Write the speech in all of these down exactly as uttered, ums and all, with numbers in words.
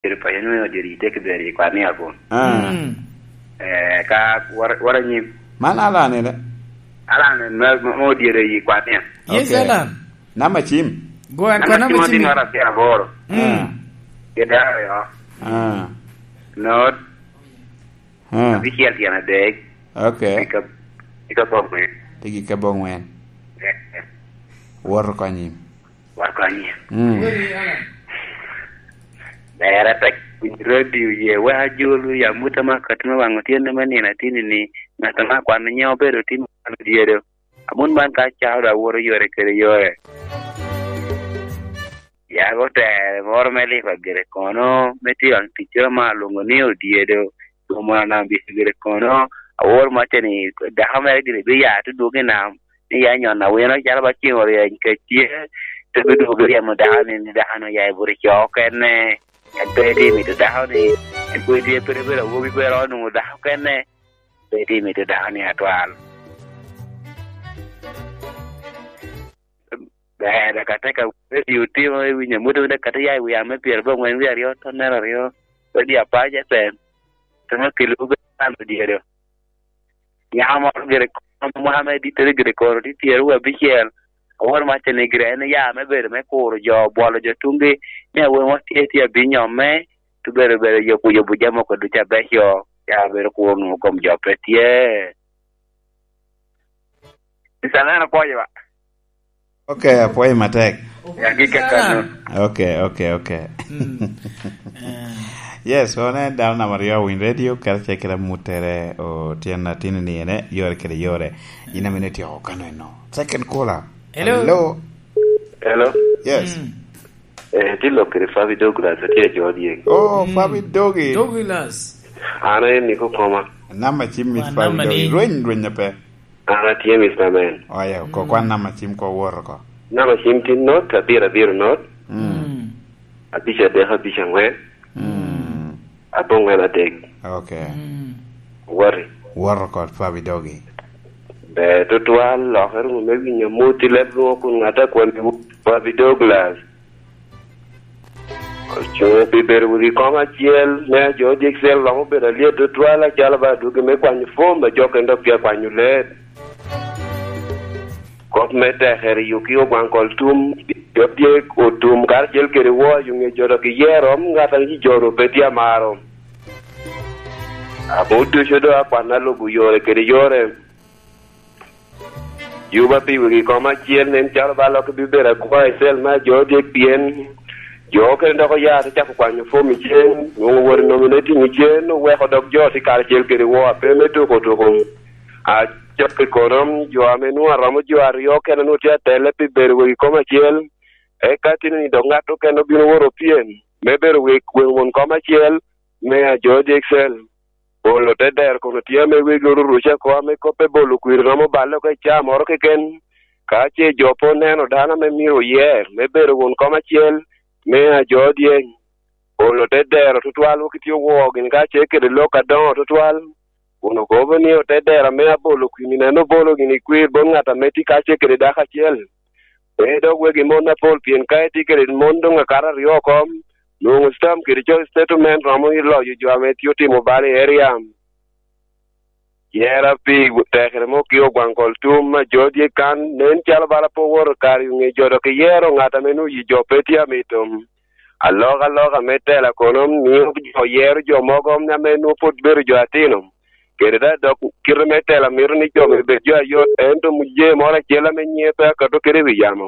Ero paco ni odiro i teke ber i kwan ni akun. Ah. Mm. Eh, ka wara, wara nyim. Man Alan ene? Alan en ma, ma, ma odiro i kwan ni. Yes, okay. Alan. Namba cim? Go and Namba kwa namba cim cim. Odino ara pyer aboro. Mm. Ah. Kede aryo. Ah. Not. Ah. Abicel tyen adek. Okay. Ika, ika bongwen. Tigi ka bongwen. Eh, eh. Woro konyi. Wakonye. Mm. Ber atek piny radio ye, wek ajol ya muta ma kati ma waŋ otyenne me nino atini ni, ŋat ma kwano nyiŋ obedo timo kwano dyedo. Amon man ka acao dok awoto yore kede yore. Yag otere moro me lipa gire kono, me tye waŋ ticca ma alwoŋo ni odyedo. Omon anam bicegere kono, awor macce ni dako mere gire bi ya te dwogo i nam, ni ya nyon awino calo ba ceng oryeny kec tye, te bi dwogo ryemo dako ni, ni dako ni oya i bute co okene, en pe tye mito dako ni, en pe tye pe bedo awobi pe ro nwoŋo dako okene, pe tye mito dako ni atwal. Ber, dok ateka radio timo i wi nyamute, dok kata ya i wi ame pyerabongwen wie aryo, tonnere aryo, radio Apac F M, temo kelo bedo kan odyedo. Nyako moro gire kono, mwaka me dittere gire kono tye pyeraryo abicel, awor macce ni gire en ya me bedo me kuro jo, bwolo jo tuŋgi, ni awobi mo tye, tye abinyo me, tubedo bedo yobo, yobo jami moko ducu abeco, ya bedo kuro nwoŋo kom jo pe tye. Mister Neno, pwoyo ba. Ok, apwoyo matek. Ya, gik kakano. Ok, ok, ok. Mm. Eh. Yes, wan en dano namba aryo Winy Radio, karacel kede amuttere, otyeno atini ni ene, yore kede yore. In amene ityeko kano eno. Second caller. Hello. Hello. Hello. Yes. Mm. Eh, tye lok kede Fabi Douglas, atye i Jodye. Oh, mm. Fabi Dogi. Douglas. An aye niko koma. Namba cim Miss Fabi Dogi. Rweny, rweny ape. An atye, Mister Man. Oya, ko kwan namba cim ko woro ko. Namba cim tin not, abiro abiro not. Mm. Mm. Abic adek, abic angwen. Mm. Abongwen adek. Ok. Mm. Wari. Woro ko Fabi Dogi. Ber tutwal, lokere wunu me winyo amut i leb lwoŋo kun ŋat a kwon Fabi Douglas. Ocuŋ pi bedo wegi kom acel, me ajo dyek cel romo bedo alyet tutwal, acalo ba adwogi me kwanyo fom, a jo kene dok tye akwanyo ler. Kop me tekere yuki ogwaŋ kol tum, jo dyek otum karacel kede wo, ayo ŋe jo dok iyero, ŋat a ŋic jo ru pe tye amaro. Abo ducu do akwan alubo yore kede yore. Yuba pi wegi kom acel nen calo ba lok bibedo akwa i cel me ajo dyek, pien jo okene dok oya te cako kwanyo fom i cen, nwoŋo wot i nominating i cen, oweko dok jo tye karacel kede wo ape me tuko tuko. Acok i kono, jo ame nwoŋo aromo jo aryo okene nwoŋo tye atelle pi bedo wegi kom acel. Eka tini ni dok ŋat okene obino woro pyem me bedo wek weŋ won kom acel me ajo dyek cel. Polo te dero kun otye ame wegi oruruca oko ame kop me bolo kwir romo balle oko i caa moro keken. Ka ce jo pe oneno dano ame myero oyer me bedo won kom acel me ajo dyeny, polo te dero tutwal, wok itye owo gin ka ce kede lok adoŋo tutwal, kun okobo ni ote dero ame abolo kwir-ni, nen obolo gin i kwir bot ŋat ame tye ka ce kede dako acel. Pe dok wegi mon apol, pien ka itye kede mon doŋ akato aryo oko, nwoŋo stam kede co settlement romo i loyo jo ame tye otimo bal i area. Yera pi tekere mo ki ogwaŋ kol tum a jo dye kan, nen calo bala pe owoto kare i ŋe jo dok iyero ŋat ame nwoŋo yi jo pe tye amito. Alokaloka me tela kono mio jo yero jo mogo ame nwoŋo pwod bedo jo atino. Kede daŋ dok kite me tela mito ni jo myero bed jo ayot, ento muje moro acel ame nyiŋe pe akato kede i wi yamo.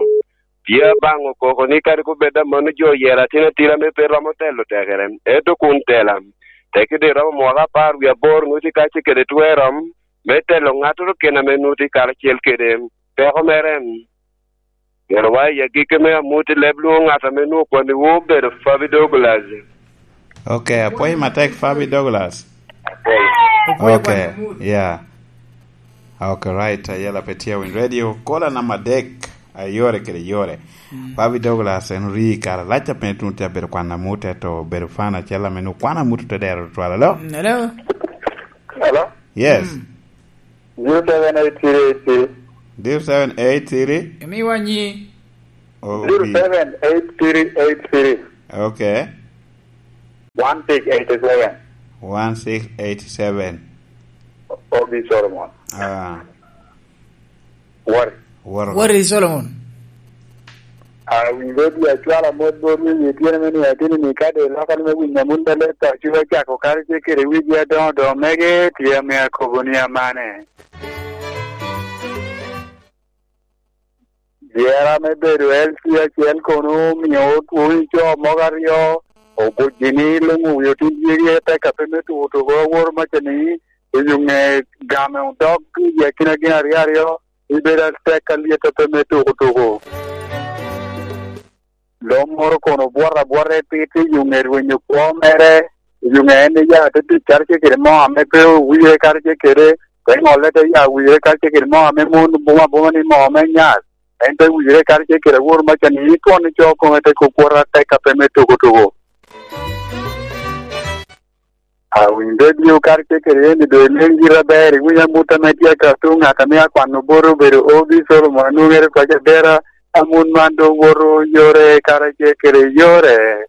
Tye abaŋo koko ni kadi kubed amanno jo oyero atin atira ame pe romo telo tekere, ento kun tela, tekki doŋ iromo mwaka apar wie aboro nwoci ka ce kede twer rom me telo ŋattoro kene ame nwoci karacel kede peko mere. Myero wa i agikki me amut i leb lwoŋo ŋat ame nwoŋo kwaniwu obedo Fabi Douglas. Ok, apwoyo matek, Fabi Douglas. Apwoyo. Apwoyo. Ok, kwan amut. Yeah. Ok, right, ayela pe tye Win Radio. Kola namba adek, ayore kede yore. Mm. Fabi Douglas, en ori kare lac a piny tun tye abedo kwan amut, eto obedo fan acel ame nwoŋo kwan amut te dero tutwal. Alo? Mm, hello? Hello? Yes. Mm. Zero seven eight three eight three. Zero seven eight three? Emi wanyi. Oh, zero seven eight three eight three. Okay. One six eight seven. One six eight seven. Obi Solomon. Ah. Wari. Wari. Wari Solomon. A winyo di acwala mot bot wi wi tyene me ni atini ni kade loko ni me winyo mun bele to ci ocako kare ce kede wigi adoŋo doŋo mege tye ame akobo ni amane. Dyera me bedo L C acel kono omio otwoni co mogo aryo, obuc gini luŋ owi otin dyegi atek ape me tuko tuko aworo maca ni, i yuŋe game odok i akina gin aryo aryo, ibedo atek alyet ape me tuko tuko. Lo moro kono obwot abwota i pit i yuŋe rwenyo kwo mere, i yuŋe en iya te tic karacel kede moo ame pe owire karacel kede, te ŋolle te ya wire karacel kede moo ame mon buma buma ni moo me nyar, en te wire karacel kede awor maca ni itwon ico kome te kok kwota atek ape me tuko tuko. Awinyo redio karacel kede en i doŋ ileng gira aber, iwiny amut ame tye ka tuŋ, ŋat ame akwano bot obedo Obi Solomon, anwoŋere paco abera, amut man doŋ woto yore karacel kede yore.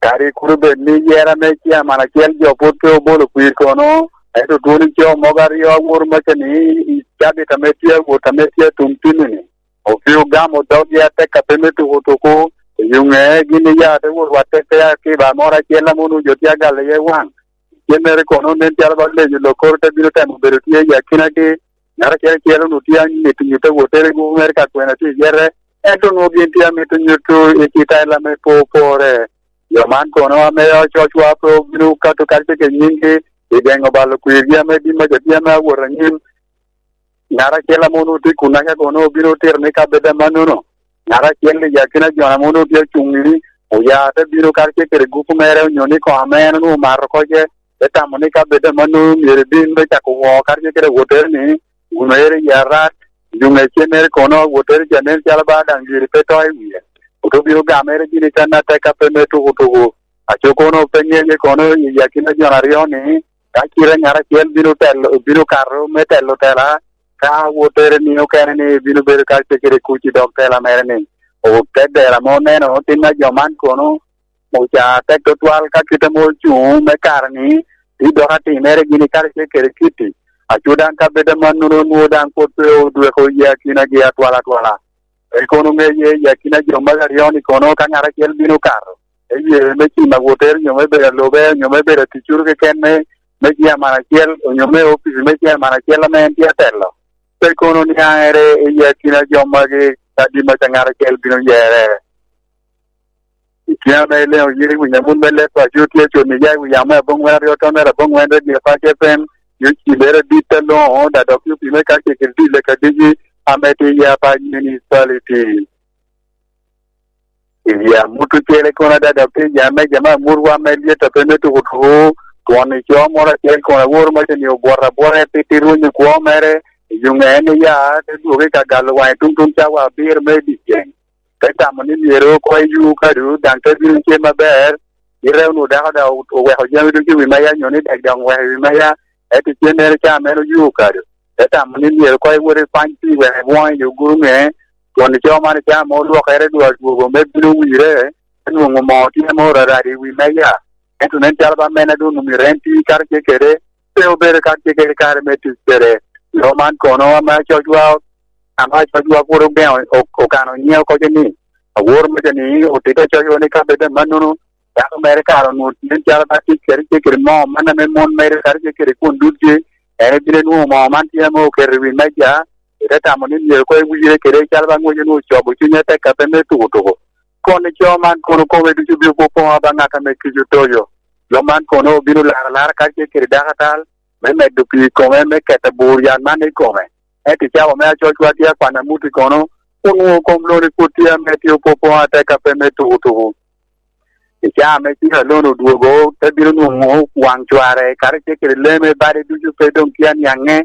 Kadi kur obed ni yera me ciaman acel jo pwod pe obolo kwir kono, ento twoni co mogo aryo aworo maca ni i cabit ame tye awot ame tye atum timi-ni, opio gamo doggi atek ape me tuko tuko, i yuŋe gin iya te wot watte pe akiba moro acel ame onwoŋo jo tye agalo iye waŋ. Cennere kono nen calo ba leyo lokoro te bino temo bedo tye i akinagi, ŋat acel acel onwoŋo tye anyito nyuto wottere gupu mere ka kwena tye i yete, ento onwoŋo gin tye amito nyuto i citaila me po pore. Jo man kono ame ococwa pe obino kato karacel kede nyingi i geŋo balo kwirgi ame din maca tye ame awot anyim. Ŋat acel ame onwoŋo tye i kunnaca kono obino otito ni kabedo amannono. Ŋat acel i akina jo ame onwoŋo tye ocuŋ ni oya te bino karacel kede gupu mere onyo ni koŋ ame en onwoŋo omato oko ce, te tamo ni kabedo amannono myero ebin me cako woo karacel kede awottere ni, wun oero i arat, yuŋ ecennere kono awottere ca nen calo ba daŋ giri pe to i wie. Oto bino gamere gini kan atek ape me tuko tuko. Aco kono pe ŋenye kono i akina jo aryo ni, ka cite ŋat acel bino telo, bino kato me telo tela, ka wottere ni okene ni bino bedo ka cekere kuc i dog tela mere ni, ote dera ame oneno otin a jo man kono, oca tek tutwal ka kite ame ocuŋ me kare ni, ti dok atimere gini kare ce kede kiti. Aco daŋ ka bedo amannono onwoŋo daŋ pwod pe odweko i akinagi atwal atwala. Pe kono ŋeye i akina jo magi aryo ni kono ka ŋat acel bino kato, eye me cimo awotere onyo me bedo alube onyo me bedo aticuru keken me, me ciaman acel onyo me opici me ciaman acel ame en tye atelo. Pe kono niaŋere i akina jo magi kadi maca ŋat acel bino yere. I kine ame ileŋo yin i wi nyamut me leb paco tye coni ya i wi yamo me aboŋwen aryo tonere aboŋwen redio Pac F M, yo cibere dit aloŋo, da dok yo pime ka cegil dit leka digi ame tye ya Pac Municipality. I amut ocele kono ada dok tye ya me jama amutwa me lyet a pe me tuko tuko, twon i co moro acel kono aworo maca ni obwot abwota pi ti rwonyo kwo mere, i yuŋe en iya, te dwogo i ka galo waŋe tuŋ tuŋ cawa abiro me dyeceŋ. Te tamo ni myero oko i yu kadu, daŋ te bino cem aber, ite onwoŋo dako daŋ oweko jami ducu i wi meja, nyo ni dek daŋ oweko i wi meja, ento cennere ca meno yu kadu. Te tamo ni myero oko iwot ikwany pi wek ibwoŋ i oguro ŋe, twon ico man ica ame olwokere dwar dwogo me bino wire, te nwoŋo moo tye ame orarado i wi meja. Ento nen calo ba mene doŋ omyero en ti karacel kede, pe obedo karacel kede kare me tic kede. Lo man kono ame acocwa, ame acocwa pwod ogeŋo, o-, okano nyiŋe oko ni, aworo maca ni otito acocwa ni ka bedo amannono, dako mere kare onwoŋo nen calo ba tic kede ce kede moo man ame mon mere kadi ce kede kwon dutgi, en ebino nwoŋo moo man tye ame oketo i wi meja, ite tamo ni myero koŋ ewire kede calo ba ŋwec onwoŋo cobo cunye atek ape me tuko tuko. Kono ico man kono kome ducu bino popoŋo ba ŋat ame kico toyo. Lo man kono obino laro alara kadi ce kede dako atal, me medo pii i kome, me keto abur yat man i kome. Ento i cawa me acocwa tye akwan amuti kono, onwoŋo kom loni pwod tye ame tye opopoŋo atek ape me tuko tuko. I caa ame cik alon odwogo, te bino nwoŋo waŋ cware, kadi ce kede lee me bade ducu pe doŋ tye aniaŋe.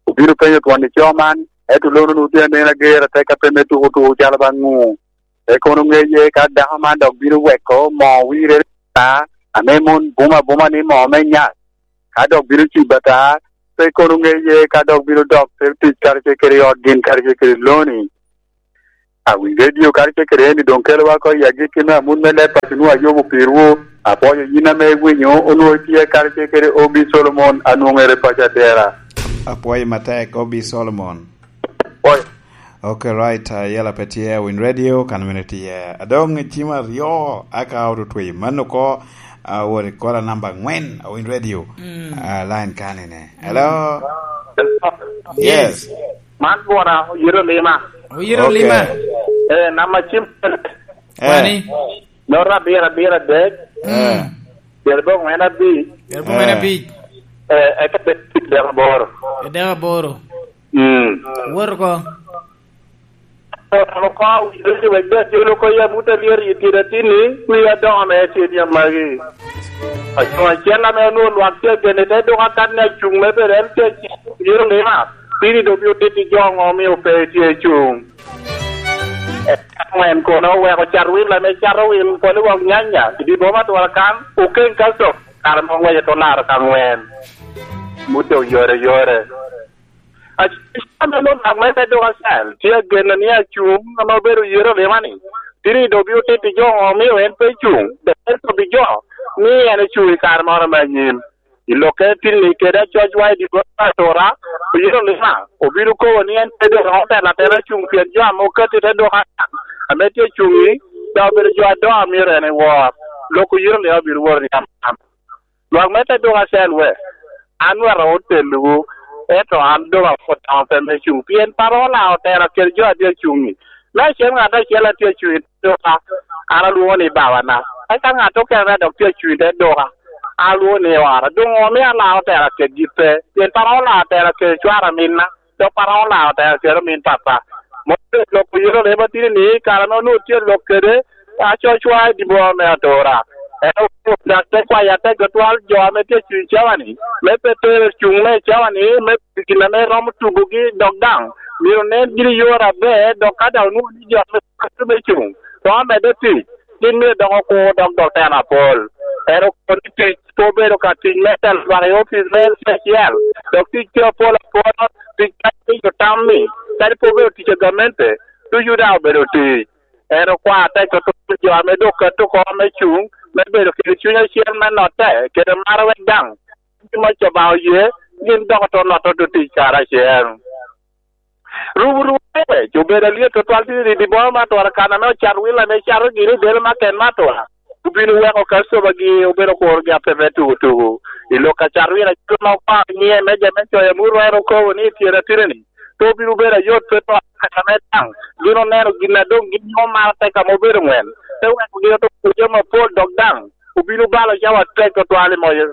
Obino penyo twon ico man, ento lon onwoŋo tye anen ager atek ape me tuko tuko calo ba ŋu. Pe kono ŋeye ka dako man dok bino weko moo wirere ata, ame mon buma buma ni moo me nyat. Ka dok bino cibo ata, pe kono ŋeye ka dok bino dok te tic karacel kede i ot gin karacel kede loni. Awiny redio karacel kede eni doŋ kelowa oko i agikki me amut me leb paco nwoŋo ayubo pirwu. Apwoyo yin ame iwinyo, onwoŋo itye karacel kede Obi Solomon, anwoŋere paco adera. Apwoyo matek, Obi Solomon. Apwoyo. Ok, right, uh, yela pe tye, Win Radio, kan mene tye. Adoŋ cim aryo, aka otutwi. Mano ko, uh, wot i kola namba angwen, Win Radio. Mm. Uh, line kanine. Hello? Yes. Yes. Man bwona, oyito lima. Oyito Ok. lima. Eh, namba cim. Eh. Wani? Nota abiro, abiro adek. Eh. Mm. Pyeraboro angwen abic. Pyeraboro angwen Eh. abic. Eh, eka bed dek aboro. Dek aboro. Mm. Wot oko. An oko awinyo ni wek dek jolo oko yam wot alyet i tyen atinni, wi adoŋo me tyen yam magi. Acuŋ acel ame onwoŋo lwak tye agene te dok akan ni acuŋ me bedo en tye acel, myero lima. Piny doŋ bino tito jo ŋo omio pe tye cuŋ. Eka ŋwen kono oweko cat wil ame cato wil polo wok nyanya i dye boma Atura kan, okeŋ kalco, kare ma ŋwece te olaro ka ŋwen. Mute oyore yore. Acel ame lwak me te dok acel, tye ageno ni acuŋ ame obedo yero lima ni, tini doŋ bino tito jo ŋo omio en pe cuŋ, dok en kobbi jo ni en ocuŋ i kare moro me anyim. I lokke tin-ni kede acocwa i dye bot Atura, oyero lima, obino kobo ni en pe doŋ romo telo atela cuŋ pien jo ame okatti te dok akan, ame tye cuŋ-ŋi, dok obedo jo adoŋo a myero en ewor. Lok oyero lima obino woro ni amam. Lwak me te dok acel we, an wek otelowu, ento an doŋ apwod daŋ pe me cuŋ, pien Paro olao otela kede jo a tye acuŋ-ŋi. Me acel ŋat acel a tye acuŋ i te doka, an alwoŋo ni babana. Eka ŋat okene a dok tye acuŋ i te doka, an alwoŋo ni ora. Doŋ omio alao otela kedgi pe, pien Paro olao otela kede cwara minna, dok Paro olao otela kede omin papa. Mom obedo lok oyero leba tini ni, kare ame onwoŋo tye lok kede, acocwa i dye boma me Atura. En owoto dok te kwayo atek tutwal jo ame tye acuŋ i cawa-ni, me pe tero cuŋ me cawa ni, me gin ame romo tugogi, dok daŋ myero nen gin i yore aber, dok ka daŋ onwoŋo ni jo ame tye me cuŋ, romo medde tic, gin myero dok okur dok dok teno apol. En okobo ni tic pe obedo ka tic me telo lwak i opic me L C acel, dok tic tye apol apol, tic ka tye i otam-mi, kadi pe obedo tic a gamente, ducu daŋ obedo tic. En okwao atek tutwal jo ame dok keto oko me cuŋ, me bedo kede cuny acel me notte, kede maro wek daŋ gin ma Obaŋa oye, gin dok oto notte oto tic karacel. Rubu rubu wec obedo alyet tutwal tye i dye boma me Atura kan ame ocat wil ame cato gini i dero me aken me Atura. Obino weko Kacobagi obedo kurogi apepe tugu tugu. I lok a cat wil acel ma okwao nyiŋe me jo me coyo amut rwero okobo ni i tyero atineni, pe obino bedo ayot pe to kaka me daŋ. Gin oneno gin a doŋ gin nwoŋo maro tek ame obedo ŋwen. Te weko gin oto kujo mapol dok daŋ obino balo cawa tek tutwal i moyo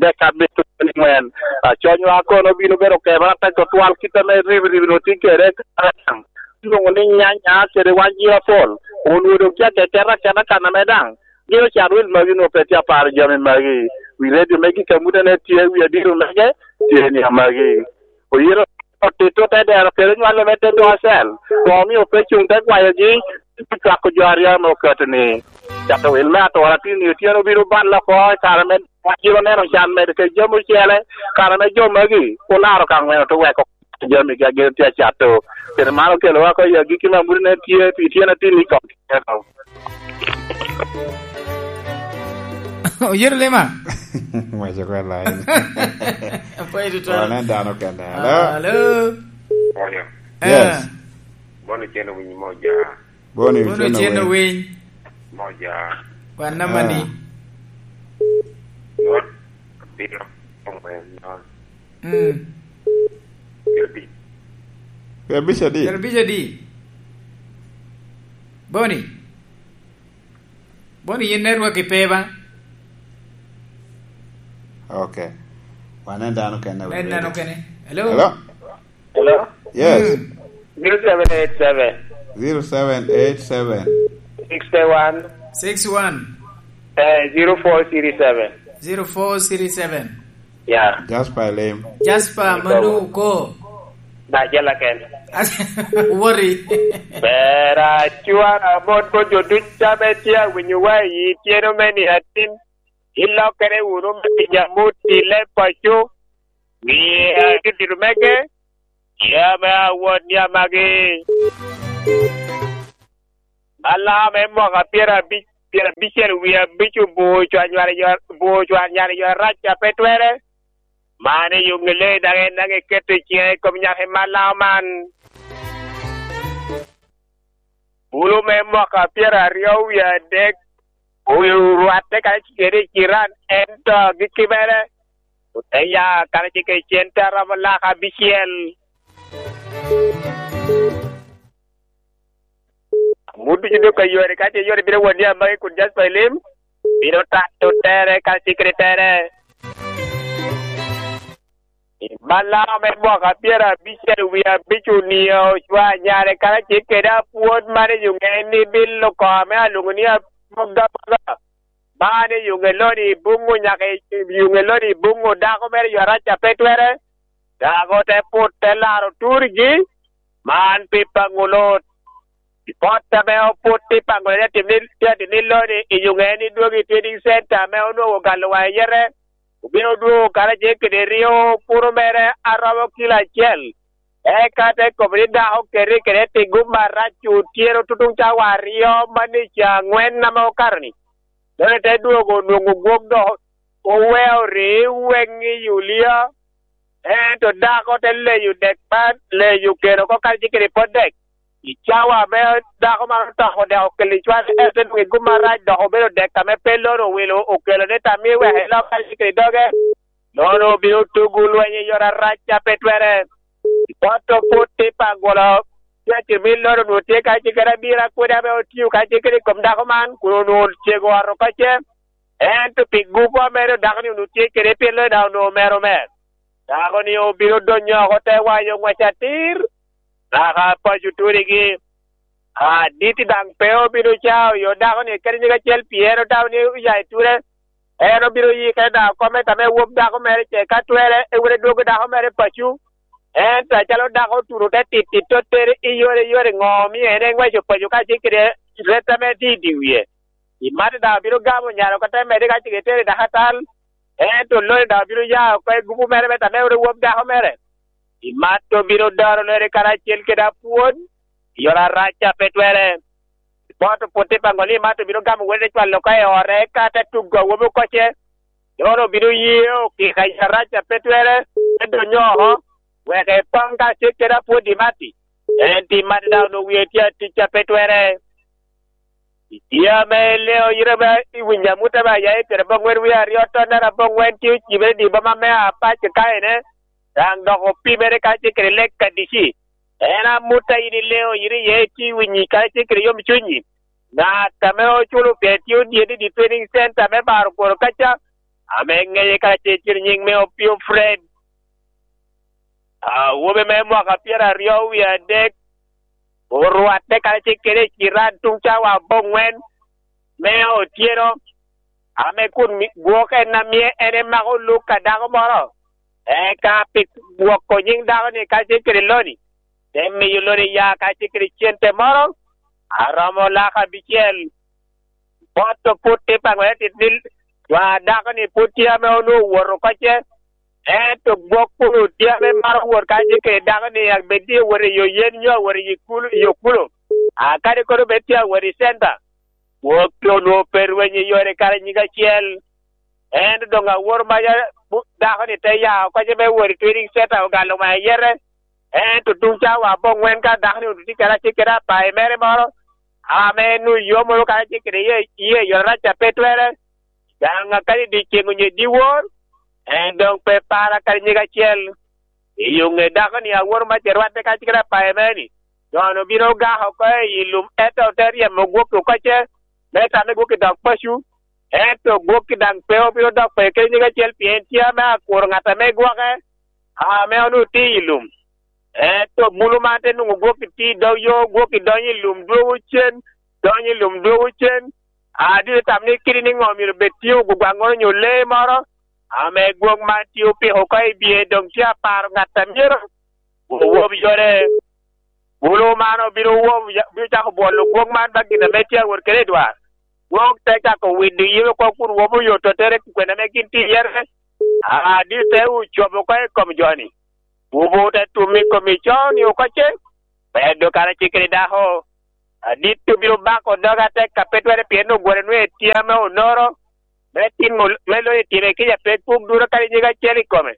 dek abito ni ŋwen. Aconywa kono obino bedo kebere atek tutwal kit ame ribi ribi onwoŋo tye kede. Lwoŋo ni nyanya kede wan jira pol, onwoŋo doŋ tye akeketa aketa kan ame daŋ gin ocat wil magi onwoŋo pe tye aparo jami magi. Wi redio me gik amutene tye, wi adiro mege tye ni amagi. Oyito otito te dero kede nywalo me te dwacel, koŋ omio pe cuŋ te kwayogi, te cwako jo aryo ame oketo ni, cato wil me Atura tin ni otyeno obino balle oko i kare me wan jiro neno can medo kede jami ocele, kare me jo magi olaro ka ŋweno te weko jami gi a gin tye acato. Kede man okelowa oko i agikki me amut nen tye pi tyen atin i kom keno. Oyero lema. Waco ko line. Apwoyo tutwal. Wan en dano kende. Hello? Hello? Yes. Ah. Bono cen owinyo moja. Bono Bono cen cen owiny. Owiny. Moja. Kwan namba ni. Ah. Not abiro. Mm. Pyerabic. Pyerabic adi? Pyerabic adi? Boni? Boni yin network ipe ba? Okay. Wan en dano kene. Nen dano kene. Hello? Hello? Hello? Yes. Mm. Zero seven eight seven. Zero seven eight seven. Six one. Six one. Eh, zero four three seven. Zero four three seven. Yeah. Jasper Lim. Jasper Manu ko. Na jala ken. Worry. Bera cwara bot bot jo duc ame tye awinyo wa i tyeno me ni atin. Ilokere wunu me pinya mut i leb paco. Miya dudiro mege. Ya me awot ni amagi. Balaam me mwaka pyerabic, pyerabicel wie abic obur cwanyar i yo, obur cwanyar i yo arac a pe twere. Man i Yungele daŋ en daŋ eketo i ciŋe i kom nyaka i Balaam man. Bulu me mwaka pyeraryo wie adek orwatte karacel kede i Ciran, ento agikki mere ote ya karacel kede cente a romo lak abicel. Amut ducu dok ka yore, ka ce yore bino wot ni amagi kun Jasper Elim, bino tato tere ka cikri tere. I Balaam me mwaka pyerabicel wie abic onio ocwa nyare karacel kede apwod man i Yungeni, bilo kome alwoŋo ni Amogamoga. Man i Yungeloni i Buŋu nyaka i Yungeloni i Buŋu, dako mere yo arac a pe twere. Dako te put te laro turgi, man pi paŋo Lot. I pot ame oput i paŋo ni atim ni, tye atim ni Loni i Yungeni dwogo i trading center ame onwoŋo galo wa iyete. Obino dwogo karacel kede ryo puro mere a romo kilo acel. Eka te kobo ni dako keti kede tigo marac otyeno tutuŋ cawa aryo man i ca aŋwen ame okato-ni. Dano te dwogo onwoŋo gwok dok oweo rii weŋ i Yulia, ento dako te leyo dek man, leyo keno oko karacel kede pot dek. I cawa ame dako man otoko dek okelo i cwal, ento te nwoŋo i gum arac dok obedo dek ame pe Loni owilo okelo ni tamie wek elok karacel kede doge. Loni obino tugo lweny i yore arac a pe twere. Pot oput i Pangolo, tye acel me Loni onwoŋo tye karacel kede abiro akwede ame otio karacel kede i kom dako man, kun onwoŋo cego ot oko ce. Ento pi gupo ame rik dako-ni onwoŋo tye kede, pien Loni daŋ onwoŋo mero mer. Dako-ni obino donyo oko te wayo ŋwec atir, naka paco turigi. Aditi daŋ pe obino cao yo dako-ni kadi nyig acel, pien otamo ni oya i ture. En obino yikere daŋ oko me tame wop dako mere ce, ka twere, ewot edwogo dako mere paco. Ento acalo dako otuno te tittit, te tere i yore i yore, ŋo omio en eŋweco paco kacel kede ret ame tye i dye wie? I Mata daŋ obino gamo nyare oko te medde ka ce etere i dakatal, ento Loni daŋ obino ya oko i gupu mere me tame wot ewop dako mere. I Mata obino doro Loni karacel kede apwod i yore arac a pe twere. Bot oput i Pangoli, Mata obino gamo wode te cwalo oko i ore, eka te tugo awobi oko ce. Loni obino ye okika i arac a pe twere, te donyo oko, wek epaŋ ka ce kede apwod i Mata. En tye Mata daŋ onwoŋo wie tye atic a pe twere. Itye ame ileo yite ba iwinyo amut ame aya i pyeraboŋwen wie aryo tonnere aboŋwen tye ocibere i dye boma me Apac Kaine, daŋ dok opimere kacel kede lek Kadici. En amut a yin ileo yite iye, itye iwinyo kacel kede yomcunyi. Ŋat ame oculo pien tye odyet i dye training center me baro kworo kaca, ame ŋeye kacel kede nyiŋ me Opio Fred. Awobi me mwaka pyeraryo wie adek orwatte karacel kede i ciran tuŋ cawa aboŋwen me otyeno, ame kun mi-, gwok en a mie en emako luk a dako moro, eka pi gwoko nyiŋ dako-ni karacel kede Loni, te miyo Loni ya karacel kede cente moro a romo lak abicel. Bot oput i Pangoli atit ni, jo a dako-ni pwod tye ame onwoŋo owoto oko ce, ento gwok kun tye ame maro wot kacel kede dako-ni, abed ni owot i yo yen nyo owot i kulo, i yo kulo. A kadi kono bed tye awot i center, gwok onwoŋo pe rweny i yore kare nyig acel. Ento doŋ awor maca, bu-, dako-ni te ya oko ce me wot i training center ogalo ŋa iyete. Ento tuŋ cawa aboŋwen ka dako-ni onwoŋo tye kede acel kede apayi mere moro, ame en oyomo kacel kede iye, iye yore arac a pe twere, daŋ akadi dyeceŋ onyo dyewor, en doŋ pe para kadi nyig acel. I yo ŋe dako-ni awor maca rwatte kacel kede apayi mere-ni, jo-nu obino ogako oko i lum, ento ote ryemo gwok oko ce, me tamme gwok i dog paco, ento gwok-ki daŋ pe obino dok pe kede nyig acel, pien tye ame akuro ŋat ame gwoke, ame onwoŋo tye i lum. Ento bulu man te nwoŋo gwok-ki tye i dog yo, gwok-ki donyo i lum dwogo cen, donyo i lum dwogo cen. A dito tam ni kidi ni ŋo myero bed tye ogwagwaŋŋoro nyo lee moro, ame gwok man tye opiko oko i bye, doŋ tye aparo ŋat a myero owob yore. Bulu man obino wobo, obino cako bwolo gwok man ba gin ame tye awot kede i dwar. Gwok te cako wido yim oko kun wobo oyoto tere kwena ame gin tye iyete. A, dite ocobo oko i kom jo-ni. Wobo te tum i kom i co-ni oko ce. Medo kara cikere dako, adit obino bako doge atek a pe twere pien ogwore nwe tye ame onoro, me timo, me loyo i time kica pe puk duro kadi nyig acel i kome,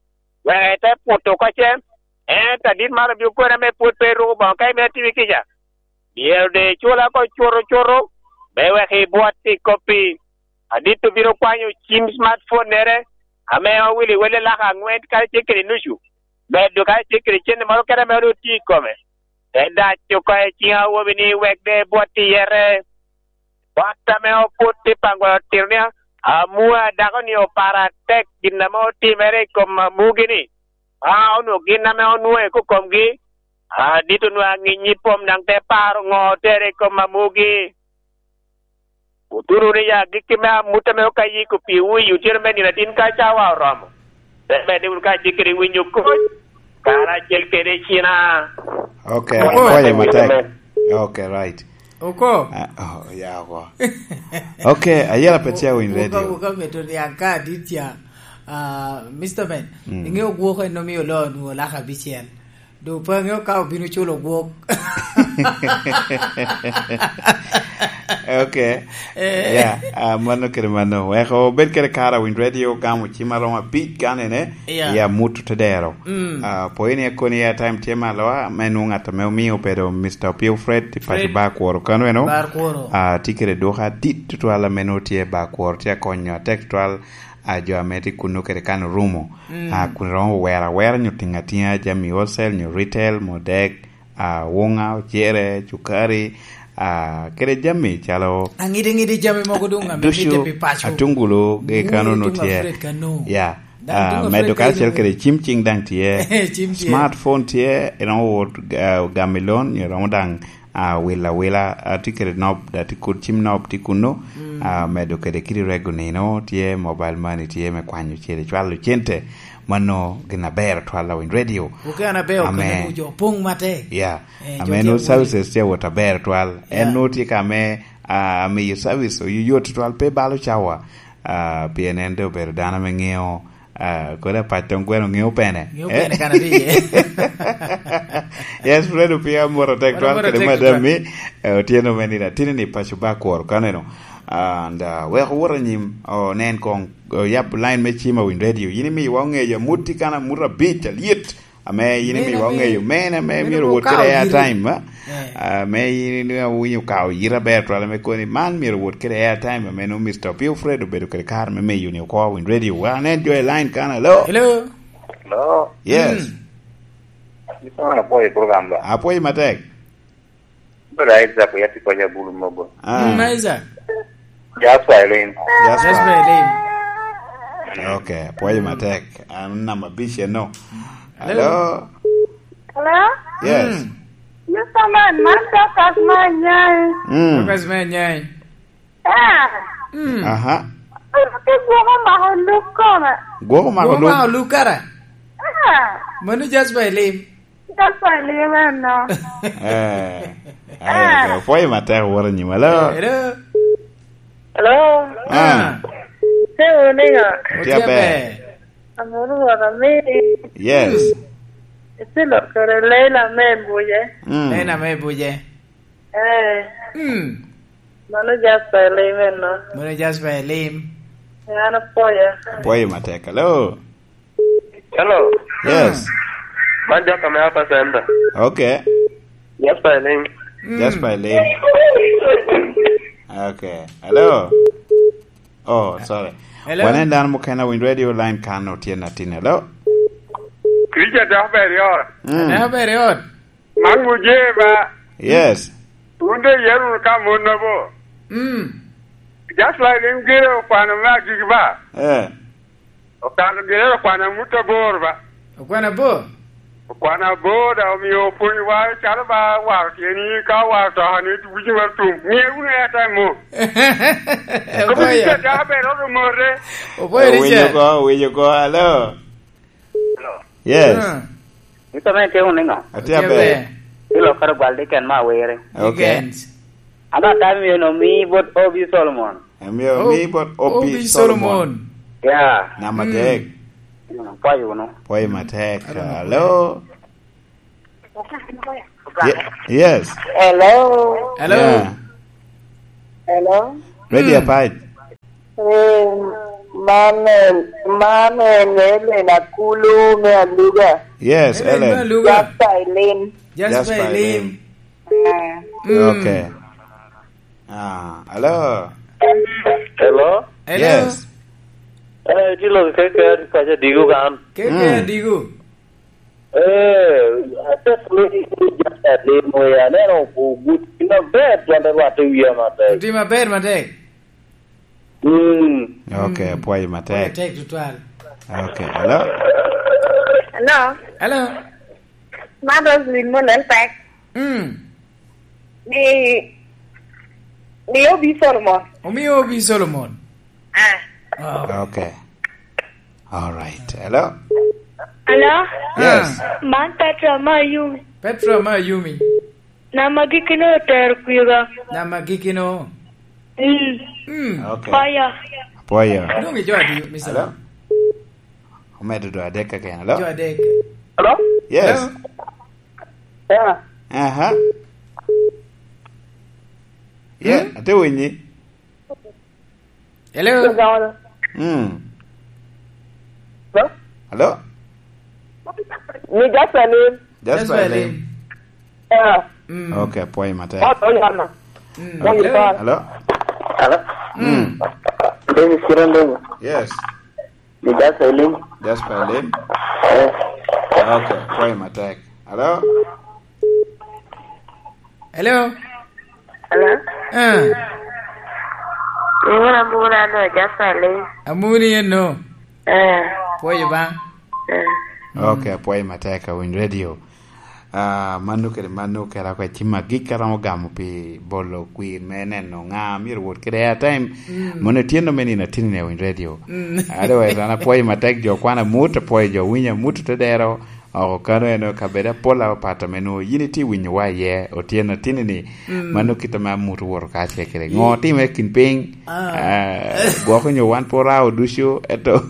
wek ete puto oko ce. Ento adit man obino koni ame pwod pe iruko boŋo ka imito timi kica. Myero doŋ icul oko cuto cuto, me wek ibwot i kop-pi. Adit obino kwanyo cim smartphone-nere, ame owilo i wel alaka aŋwen kadi tye kede nucu, medo kadi tye kede cente moro kede ame onwoŋo tye i kome. Te dac oko i ciŋ awobi ni wek doŋ ebwot i yete. Bot ame oput i paŋgwal otito ni, amua dako-ni oparo atek gin ame otimere i kom amugi-ni. A, onwoŋo gin ame onwoŋo i kokomgi, adit onwoŋo aŋiny i pom daŋ te paro ŋo otere i kom amugi. Otuno wunu i agikki me amut ame okayiko piwu i otyeno me nino atin ka cawa oromo. Te medde wunu kacel kede winyo koc, karacel kede cina. Okay, Oko. Apwoyo matek. Okay, right. Oko. Ah, oh, ya oko. Okay, ayela pe cia winy radio. Oko, oko meto niang ka adit ca. Ah, Mister Ben, mm, iŋeo gwok en omio lo nwoŋo laka abicel. Do pe aŋeo ka obino culo gwok. Okay. Eh. Yeah, ah, mano kede mano. Wek obed kede kara winy radio gamo cim aromo abic kanene. Yeah. Ya muto te dero. Mm. Ah, po ini akoni airtime tye malo, ah, me nwoŋo ŋat ame omio obedo Mister Opio Fred, i paco Fred. Bar Kworo kano eno. Bar Kworo. Ah, tye kede duka adit tutwal ame nwoŋo tye i Bar Kworo, tye akonyo atek tutwal, ah, jo ame tye kunno kede kan orumo. Mm. Ah, kun romo wero awera nyo tiŋ atiŋa jami wholesale nyo retail, modek, ah, wuŋa, ocere, cukari, ah, kede jami calo aŋidi ŋidi jami mogo doŋ ame ducu, mitte pi paco. Atungulu, ge kano no tye. Fred kano. Ya. Daŋ ah, duŋ medo Fred kacel kano. Kede cim cing daŋ tye. Cim tye. Smartphone tye, iromo wot, ah, gamo i loan, iromo daŋ, ah, wilo awila, ah, tye kede nob, da tye kud cim nob tye kunno, mm, ah, medo kede kidi rego nino tye, mobile money tye me kwanyo cente, cwalo cente, mano gin aber twal awiny radio. Oke an aber. Ame okene jo pong matek. Ya. Eh, ame jo no tye services tye awot aber twal. Ya. En no tye ka me, ah, amiyo service oyo yot twal pe balo cawa. Ah, pien en de obedo dano ame ŋeo, ah, kodi apac tong gweno ŋeo pene. Ŋeo pene kan abiye. Yes, Fred Opio amoro tek twal kede madam mi, eh, otyeno me nino atini ni paco ba kworo kaneno. Ah, and, ah, wek owot anyim, onen kong, oyab line me cim awiny radio. Yin imiyo wa oŋeyo amuti kan amuto abic alyet. Ame yin imiyo wa oŋeyo men ame myero wot kede airtime, a? Eh. Ame yin iniŋo awinyo ka oyita aber twal ame koni man myero wot kede airtime ame nwoŋo Mister Opio Fred obedo kede kare me miyo ni oko winy radio. Wa anen jo i line kan, hello? Hello? Hello? Yes. Mm. Ito na po i program ba? Apwoyo matek. Brother Isaac, ya tye kony abulu mogo. Ah. Mm, Isaac. Jasper Elim. Jasper. Jasper Elim. Okay, apwoyo matek. An namba abic eno. Hello? Hello? Hello? Yes. Mm. Mister Man, man Dorcas me Anyai. Mm. Dorcas me Anyai. Ah. Mm. Aha. Pe gwoko mako luk koma. Gwoko mako luk? Gwoko mako luk kara? Ah. Mano Jasper Elim. Ka kwali eno. Eh, eh, opwoyo matek woro nyim. Hello? Hello? Hello? Ah. Te wuni ŋa? Otye aber. Amuru wot amini. Yes. Iti lok kede Leila me Buje. Mm. Leila me Buje. Eh. Mm. Mano Jasper Elim eno. Mano Jasper Elim. An apwoyo. Pwoyo matek. Hello? Hello. Yes. Man jok ame Upper Center. Okay. Jasper Elim. Mm. Jasper Elim. Okay. Hello. Oh, sorry. Hello. Wane dano mukene winy radio line kan otye natin. Hello. Richard Jasper Elim. Mm. Jasper Elim. Man Mujee ba. Yes. Wun de iyero wunu ka mon nobo. Mm. Just like in gire okwano me agiki ba. Eh. Okwano gire okwano amut abor ba. Okwano abor? Okwano abor da omio opwony wa calo ba waro tyeni ka waro toka ni wiji mar tum. Nge wunu ya time mo. Oboya. Richard da be rodo more. Oboya Richard. Winyo ko, winyo ko, hello. Hello. Yes. Ah. Ito me timo niŋo? Atye aber. Ilo kara gwal diken ma awere. Okay. Dickens. Ano time yeno mi bot Obi Solomon. Amiyo mi bot Obi Solomon. Obi Solomon. Yeah. Namba adek. Mm. Pwoyo wunu. Pwoyo matek. Hello. Ye-, yes. Hello. Hello. Yeah. Hello. Ready, mm. Apac. Eh, man, eh, man, eh, Ellen Akulu me Aluga. Yes, Ellen, Ellen. Me Aluga. Jasper Elim. Jasper Jasper Elim. Elim. Ah. Mm. Okay. Ah, hello. Hello? Hello? Yes. Eh, itye lok keke, atye paco Adigo kan. Keke, mm. Adigo. Eh, atye ka limo, just alimo, ya, aneno ogut, gin aber, twon te rwatte wiya matek. Otimo aber matek. Mm. Okay, mm. Apwoyo matek. Apwoyo matek tutwal. Okay, hello? Hello? Hello? Man Roselyn Molel Pek. Mm. Ni, ni Obi Solomon. Omio Obi Solomon. Ah. Oh. Okay. All right. Hello? Hello? Yes. Ah. Man Petra Mayumi. Petra Mayumi. Nama gikino otero kwiga. Nama gikino. Mm. Mm. Okay. Apwoyo. Apwoyo. Dong ijo adi, Mister? Hello? Omedo dwe adek keken. Hello? Dwe adek. Hello? Yes. Hello? Yeah. Aha. Yeah, mm? Ate winyi. Hello? Mm. Hello? Hello? Ni Jasper Elim. Jasper Elim. Jasper Elim. Yeah. Mm. Okay, apwoyo matek. Oh, oh, yeah, no. Mm. Hello? Hello? Hello? Mm. Dennis Kirandong. Yes. Ni Jasper Elim. Jasper Elim? Eh. Okay, apwoyo matek. Hello? Hello? Hello? Ah. Nyinga Amuna no, Jasper Elim. Amuni eno? Eh. Pwoyo ba? Eh. Mm. Okay, apwoyo matek, awinyo radio. Ah, mano kede mano kara kwa cim agik aromo gamo pi bolo kwir me neno ŋa myero wot kede airtime. Mm. Mono tyen me nino atini ne winy radio. Mm. Otherwise, an apwoyo matek jo kwana amut, apwoyo jo winyo amut te dero. Oko kano en kabedo apol a opato me nwo yin itye winyo wa iye, otyeno atini ni, mm, mano kit ame amut owoto ka ce kede. Ŋo otimere kin piny? Ah. Ah, gwoko nyo wan pe orao ducu, eto.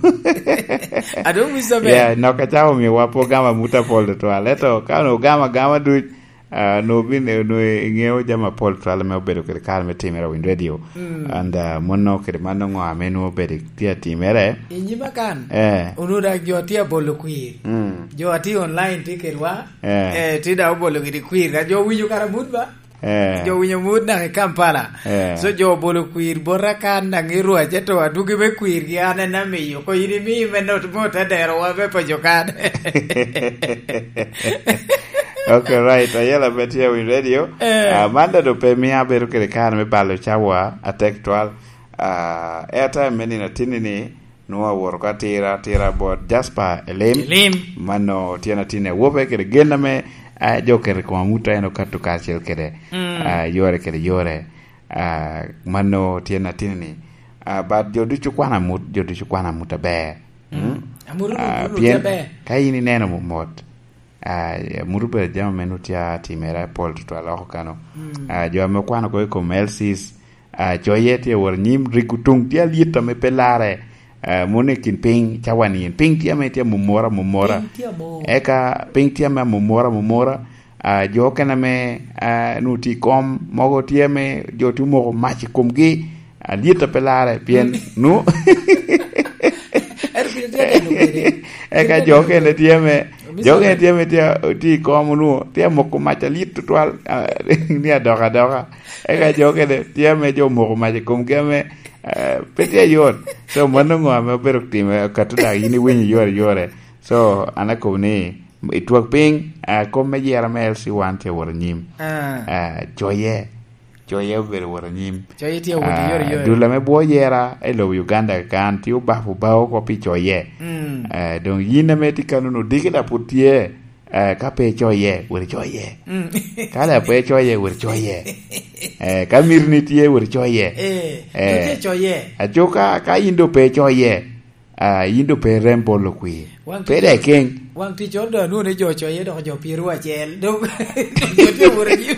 Adong wic maber. Yeah, nok acako miyo wa pe ogamo amut apol tutwal, eto ka onongo ogamo agama duc, ah, onongo bin, onongo iŋeo jami apol tutwal ame obedo kede kare me timere i Winy Radio. Mm. And, ah, mono kede mano ŋo ame nwoŋo obedo tye atimere? I nyima kan, eh, onwoŋo dak jo tye abolo kwir. Mm. Jo atye online tye kedwa. Eh. Eh, tye dak obolo gidi kwir. Ka jo winyo kara mut ba? Eh. Jo winyo mut dak i Kampala. Eh. So jo obolo kwir bota kan daŋ i rwac, ento adwogi me kwirgi an en amiyo. Ko yin imi me not mo te dero wa me paco kan. Okay, right. Ayela pe tye i Winy Radio. Eh. Ah, man daŋ doŋ pe mia abedo kede kare me balo cawa atek twal. Ah, airtime me nino atini ni, nwoŋo awoto ka tira, tira bot Jasper Elim. Elim. Mano tyen atini awope kede gen ame, ah, jo oketo i kom amuta en okato kacel kede, mm, ah, yore kede yore. Ah, mano tyen atini ni. Ah, but jo ducu kwano amut, jo ducu kwano amut aber. Mm. Mm. Amut, ah, amut pien aber. Ka in ineno mot, ah, amut obedo jami ame nwoŋo tye atimere apol tutwal oko kano. Mm. Ah, jo ame okwano oko i kom L Cs, ah, coye tye awot anyim, rigo tuŋ tye alyet ame pe larre. Ah, mono i kin piny, cawa ni en. Piny tye ame tye amomora, amomora. Piny tye amor. Eka piny tye ame amomora, amomora. Ah, jo okene ame, ah, nwoŋo tye i kom, mogo tye ame jo tye omoko mac i komgi, alyet a pe larre, pien, mm, nwoŋo. Ento piny tye ka neno kwede. Eka jo okene tye ame, jo okene tye ame tye, tye i kom onwoŋo tye amoko mac alyet tutwal, ah, ni adok adoka. Eka jo okene tye ame jo omoko mac i komgi ame, ah, pe tye ayot. So, mano ŋo ame obedo time, kato dak yin iwinyo yore yore. So, an akobo ni, i twak piny, ah, kom me yera me L C one tye awot anyim. Ah. Ah, coye. Coye obedo wot anyim. Coye tye awot, ah, yore, yore. Dul ame bwo yera i lobo Uganda kan tye obafo bao oko pi coye. Mm. Ah, doŋ yin ame tye kano-nu, diki dak pwod tye, ah, ka pe icoye, wot icoye. Mm. Ka dak pe icoye, wot icoye. Eh, ka mitini tye, wot icoye. Eh, eh, wot icoye. Aco ka, ka yin doŋ pe icoye, ah, yin doŋ pe irem bolo kwir. Waŋ tic, pe dek keny. Waŋ ticoro doŋ anwoŋo ni jo ocoye dok jo pyeraryo acel. Dok jo tye awot anyim.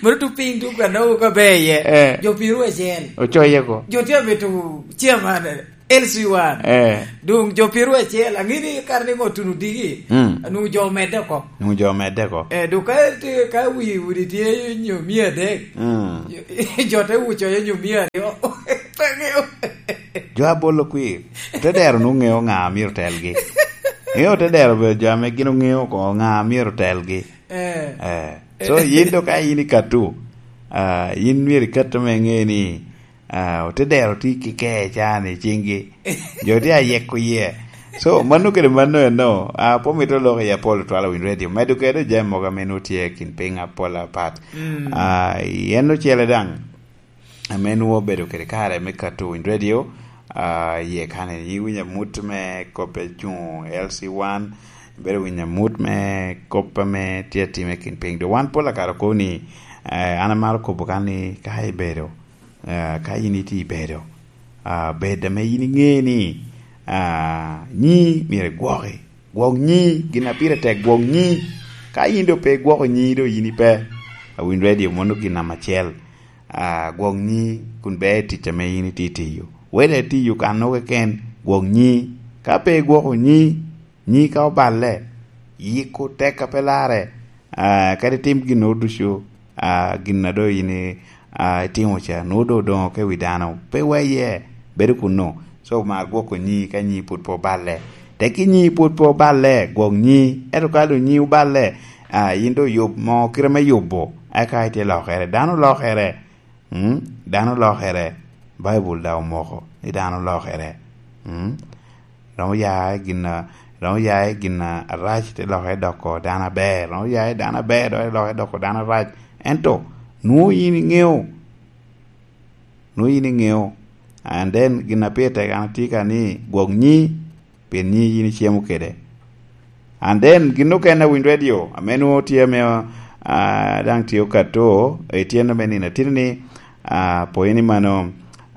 Mono tuŋ piny tuŋ ka nwoŋo ka ber iye. Eh. Jo pyeraryo acel. Ocoye ko. Jo tye amito chairman. L C one. Eh. Dong jo pyeraryo acel, angini kare ni ŋo tuno diki. Mm. Nung jo medde oko. Nung jo medde oko. Eh, dong ka, ka wi udi tye nyo mia adek. Mm. Jo te wuco ye nyo mia aryo. Pe ŋeo. Jo abolo kwir. Te dero nung ŋeo ŋa myero telgi. Ŋeo te dero be jo ame gin oŋeo ko ŋa myero telgi. Eh. Eh. So, yin do ka yin ikattu, ah, yin myero ikattu me ŋe ni, ah, ote dero tye ki kee can i ciŋgi. Jo tye ayeko yie. So, mano kede mano eno, ah, pe omito lok i apol twala winy radio. Medo kede jami mogo ame nwoŋo tye kin piny apol apat. Mm. Ah, en ocele daŋ, ame nwoŋo obedo kede kare me kato winy radio, ah, iye kane iwinyo amut me kop a cuŋ L C one, ibedo winyo amut me kop ame tye atime kin piny. Dok wan pol akare okobo ni, eh, an amaro kobo kan ni ka ibedo, eh, ka yin itye ibedo, ah, bed ame yin iŋe ni, ah, nyi myero igwoki. Gwok nyi, gin a pire tek gwok nyi. Ka yin doŋ pe igwoko nyi, doŋ yin ipe. A winy radio mono gin namba acel. Ah, gwok nyi kun ber i tic ame yin itye tiyo. Wede itiyo kan-nu keken, gwok nyi. Ka pe igwoko nyi, nyi ka oballe, yiko tek a pe larre. Ah, kadi tim gin ducu, ah, gin a doŋ yin i-, ah, itimo ca, nwoŋo doŋ odoŋo ka i wi dano. Pe weye, bedo kunnu. So, mar gwoko nyi ka nyi pwod pe oballe. Tekki nyi pwod pe oballe, gwok nyi. Ento ka doŋ nyi oballe, ah, yin doŋ yub mo kite me yubo, eka itye lokere. Dano lokere. Mm? Dano lokere. Baibul daŋ omoko ni dano lokere. Mm? Romo ya i gin a, romo ya i gin a, arac te lokere doko dano aber. Romo ya i dano aber, dok te lokere doko dano arac. Ento, nwoŋo yin iŋeo. Nwoŋo yin iŋeo. And then, gin a pire tek an atye ka ni, gwok nyi, pien nyi yin icemo kede. And then, gin okene a winy radio, ame nwoŋo tye ame, ah, daŋ tye okato, etyen ame nino atino ni, ah, pwony ni mano,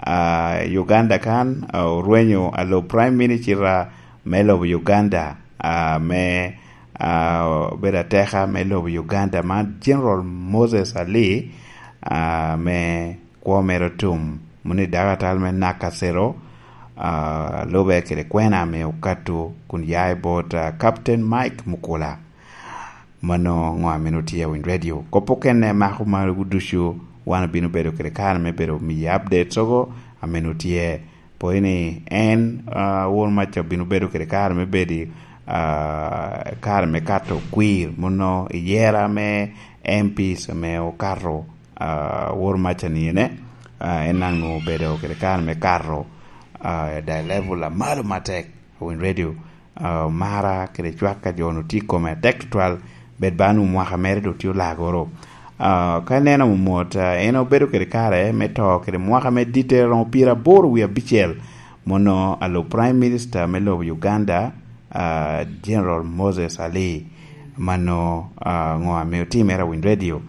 ah, Uganda kan, ah, orwenyo alo Prime Minister me lobo Uganda, ah, me, ah, obedo ateka me lobo Uganda man General Moses Ali, ah, me kwo mere otum, moni dako atal me Nakasero, ah, lube kede kwena ame okato kun ya i bot, ah, Captain Mike Mukula. Mano ŋo ame nwoŋo tye i Winy Radio. Kop okene mako magu ducu, wan obino bedo kede kare me bedo miyi updates ogo ame nwoŋo tye. Pwony ni en, ah, won maca obino bedo kede kare me bedo, ah, kare me kato kwir, mono i yera me M Ps ame okato, ah, wor maca ni ene, ah, en daŋ nwoŋo obedo kede kare me kato, ah, da level a malo matek. Winy Radio, ah, mara kede cwak a jo-nu tye i kome atek tutwal, bed ba nu mwaka mere doŋ tye olagoro. Ah, ka ineno mot, ah, en obedo kede kare me to kede mwaka me ditte romo pyeraboro wie abicel, mono alo Prime Minister me lobo Uganda, ah, General Moses Ali. Mano, ah, ŋo ame otimere a Winy Radio.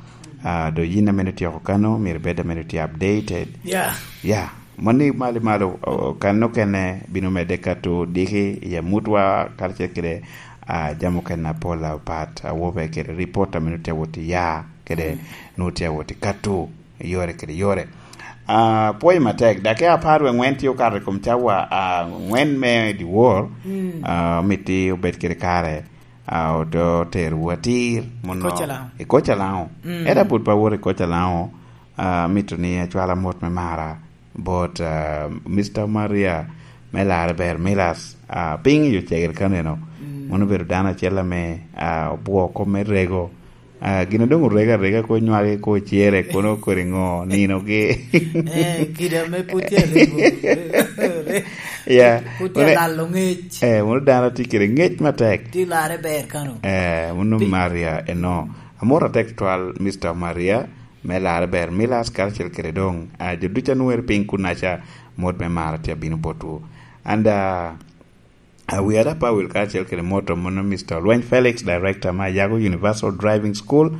Ah, do yin ame otyeko kano, myero ibed ame tye updated. Yeah. Yeah. Mani malo malo, o, kan okene bino medde kato diki i amutwa, karacel kede, ah, jami okene apol apat, awobe kede report ame nutye awot i ya, kede nutye awot i kato, i yore kede yore. Ah, pwoyo matek, dakika apar wie ŋwen tye okato i kom cawa, ah, ŋwen me dyewor, ah, omiti obed kede kare, ah, ote-, oterowu atir, mono Koca Lango. I Koca Lango. Mm. Eda pud pa wot i Koca Lango, ah, mito ni acwala mot me mara bot, ah, Mister Maria me Larre Ber Milas, ah, piny i Ocegere kaneno. Mm. Mono obedo dano acel ame, ah, obwoo kop me rego. Ah, gin a doŋ orego arega ko nywage ko cere kono kodi ŋo ninogi. Eh, kida me put tye arego. Ya. Put tye Mone-, alalo ŋec. Eh, mono dano tye kede ŋec matek. Tye Larre Ber kano. Eh, mono Maria eno. Amor atek twal, Mister Maria. Me Larre Ber Milas karacel kede doŋ, ah, jo ducu a nwoŋere piny kunaca, mot me mara tye abino botwu. And, ah, ah, wi ada Pawil karacel kede moto mono Mister Olweny Felix, Director me Ayago Universal Driving School,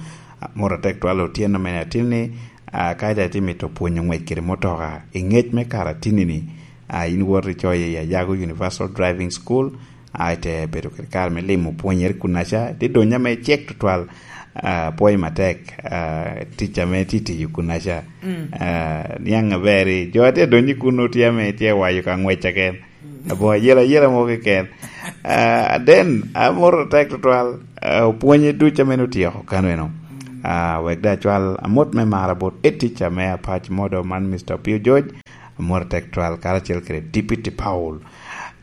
ah, mot atek twal otyeno mene atin ni, ah, ka ite tye mito pwonyo ngwec kede motoka i ngec me kare atinni-ni, ah, in wot icoyo i Ayago Universal Driving School, ah, ite bedo kede kare me limo pwonyere kunaca, ite donyo ame cek tutwal, ah, pwoyo matek, ah, tic ame tye tiyo kunaca. Mm. Ah, niaŋ aber, jo a tye adonyo i kuno tye ame tye wayo ka ngwec keken. Abo ayela, ayela mo keken. Ah, then, amoro tek tutwal, ah, opwonye duc ame otyeko kano eno. Ah, wek da cwal amot me mara bot etica me apac modo man, Mister Pio George, amot tek twal karacel kede Deputy Paul.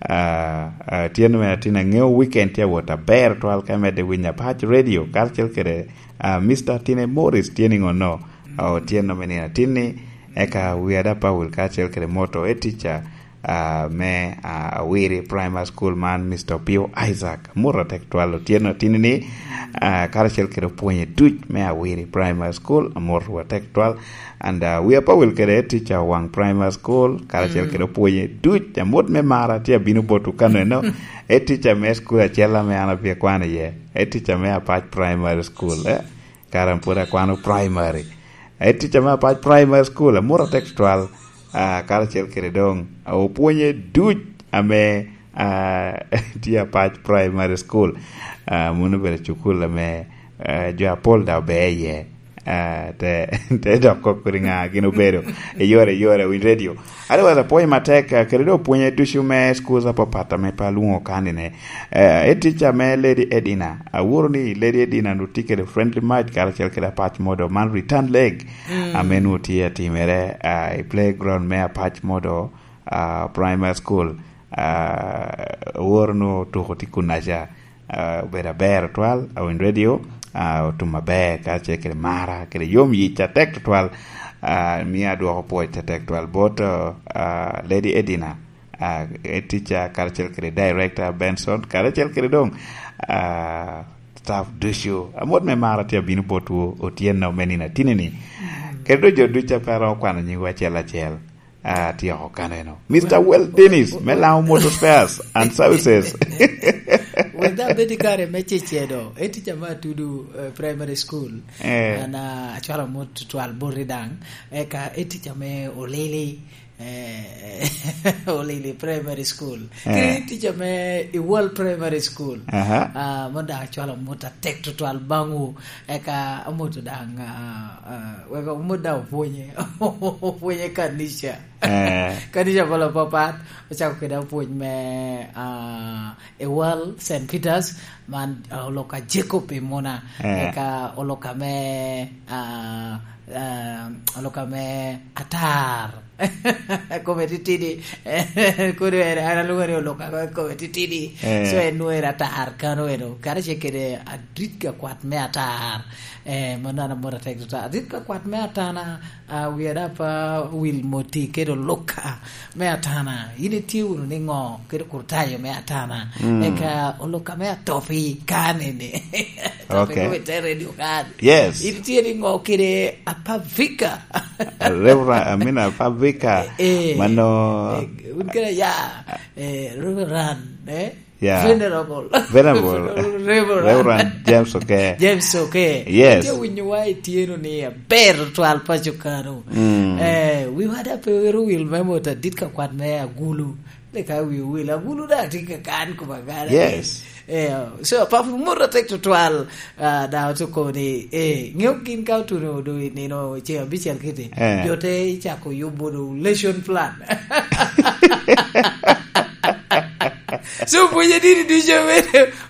Ah, ah, tyen me atin aŋeo weekend tye awot aber twal ka medde winyo apac radio karacel kede, ah, Mister Tine Morris tye niŋo no? Ah, otyeno me nino atin ni, eka wi ada Paul karacel kede moto etica, ah, me, ah, Awiri Primary School man, Mister Pio Isaac. Amut atek twal otyeno atin ni, ah, karacel kede opwonye duc me Awiri Primary School, amut atek twal. And, uh, wi apawil kede head teacher Wang Primary School, karacel kede opwonye duc, amut me mara tye abino botwu kano eno. Head teacher me school acel ame an abye kwano iye. Head teacher me Apac Primary School, eh? Kara an pwod akwano primary. Head teacher me Apac Primary School, amut atek tutwal, ah, karacel kede doŋ, ah, opwonye duc ame, ah, tye Apac Primary School. Ah, mano obedo cukul ame, ah, jo apol da obe iye. Ah, te, te dok kok kodi ŋa gin obedo. Eyore, eyore, winy radio. Otherwise, apwoyo matek, ah, kede dok pwonye ducu me schools apapat ame pe alwoŋo kanine. Eh, head teacher me Lady Edina, aworo ni Lady Edina nu tye kede friendly match karacel kede Apac Modo man return leg, mm, ame nu tye atimere, ah, i playground me Apac Modo, ah, Primary School. Ah, aworo nu tuko tye kunaca. Ah, obedo aber tutwal, awiny radio, ah, otum aber, ka ce kede mara, kede yom yic atek tutwal, ah, mio adwoko pwoc atek tutwal bot, ah, Lady Edina, ah, head teacher, karacel kede director Benson, karacel kede doŋ, ah, staff ducu. Amot me mara tye abino botwu otyeno me nino atinini. Kede doŋ jo ducu a pe aromo kwano nyingwu acel acel. Ah, atyeko kaneno. Mister Well Dennis, me Laŋo Motor Spares and Services. Wek daŋ abed i kare me cecedo, e tica me Atudu, eh, Primary School. Eh. An, ah, acwalo mot tutwal boti daŋ. Eka e tica me Olili, eh, Olili Primary School. Eh. Ki tica me Iwal Primary School. Aha. Ah, mon daŋ acwalo mot atek tutwal baŋwu. Eka amoto daŋ, ah, ah, wek omot daŋ opwonye, opwonye kanica. Eh. Kanica pol apapat, ocako kede apwony me, ah, Ewal Saint Peters, man, ah, oloka Jacob i Muna. Eh. Eka oloka me, ah, ah, oloka me Atar. Kome titidi. Kono en, an alwongo ni oloka kome titidi. Eh. So en nwoŋo era atar kano eno. Kara ce kede adit ka kwat me atar. Eh, manana mot atek tota. Adit ka kwat me atana, ah, wi ada pa wil moti kede oloka me atana. In itye wunu ni ŋo kede kurtayo me atana. Mm. Eka oloka me atopi kanene. Atopi. Okay. Kome te radio kan. Yes. In itye ni ŋo kede apavika. Reverend, I mean, apavika. Eh, eh. Mano. Eh, un kede ya, eh, Reverend, eh? Yeah. Venerable. Venerable. Reverend. Reverend James Oke. James Oke. Yes. Itye winyo wa itye no ni aber twal paco kano. Mm. Eh, wi wada pe wero wil me mot adit ka kwat me agulu. Leka wi wil agulu da tye ka kan kuma gara. Yes. Eh, so, apap mot atek tutwal, ah, da otuko ni, eh, ŋeo gin ka otuno do i nino ce abicel kiti. Eh. Jo te icako yubo do lesson plan. So, opwonye dini ducu,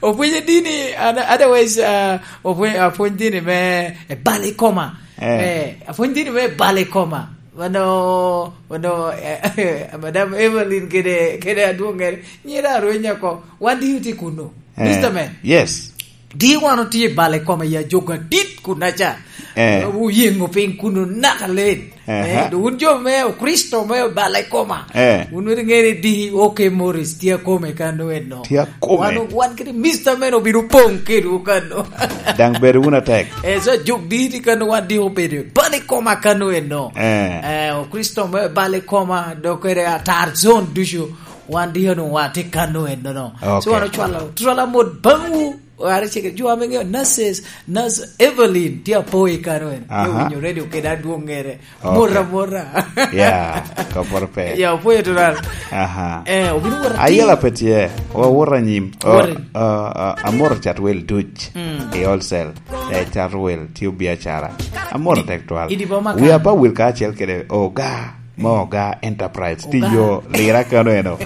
opwonye dini, ana-, otherwise, ah, opwony-, apwony dini me, eh, bal i koma. Eh. Eh, apwony dini me bal i koma. Wano, wano, eh, Madam Evelyn kede, kede adwoŋere, nyira arwenya ko, wan di uti kuno. Eh, Mister Man. Yes. Di wan otye i bal i koma ya jogo adit kunaca. Eh. Oyeŋo piny kuno naka len. Aha. Eh, do wun jo me Okricito me bal i koma. Eh. Wun weri ŋere di, oke Morris, tye akome kano eno. Tye akome. Wan, wan kede Mister Man obino poŋ kedwu kano. Daŋ bedo wun atek. Eh, so jok di ti kano wan di obedo bal i koma kano eno. Eh. Eh, Okricito me bal i koma, dok kede atar zone ducu. Wan di onwoŋo wa tye kano eno no. Okay. So wan ocwalo, twala mot baŋwu. Wara cege, jo ame ŋeo nurses, nurse Evelyn, tye apo i kano en. Aha. Tye winyo radio kede adwoŋere. Okay. Mora, mora. Ya, koporo pe. Ya, opoyo tural. Aha. Eh, obino wora ti. Ayela pe tye, wa wora nyim. O, wora. O, o, amoro cat wel duc. Mm. I wholesale. Eh, cat wel, tye biacara. Amoro tek twal. Idi boma ka. Wi apa wil ka acel kede, oga. Mo Oga Enterprise, ti Oga. Yo lira kano eno.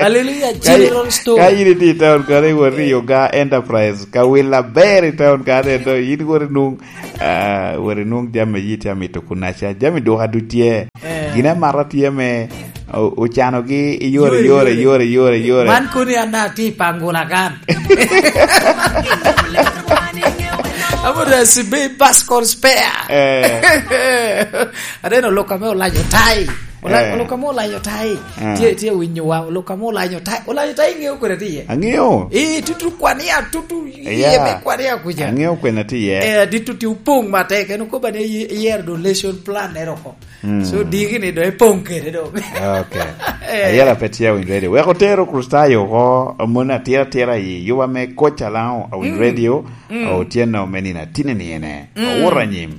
Hallelujah, ka yi-, General Store. Ka yin iti i town kano, iwot i Oga Enterprise, ka wil aber i town kano eno, yin wot inung, ah, wot inung jami yit ya mito kunaca, jami duka du tye. Eh. Gin amata tye me, o-, ocanogi i yore, yore, yore, yore, yore. Man koni an atye i Pangula kan. Amo da sibe bus kon spare. Eh. Aneno lok ame olanyo tai. Ola-, eh, lok ame olanyo tai. Eh. Tye, tye winyo wa, lok ame olanyo tai. Olanyo tai ŋeo kwene tye. Aŋeo. Eh, tutu kwania, tutu, yeah, yie me kwania kuca. Aŋeo kwene tye. Eh, di tutu opong matek. En okoba ni ye-, yer donation plan ero ko. Mm. So, diki ni do epong kede do. Okay. Eh. Ayera pe tye win radio. Wek otero Kristayo oko, mon atira atira i yuba me koc alaŋo, a win radio, mm, otyeno me nino atine ni ene. Mm. Owuto anyim.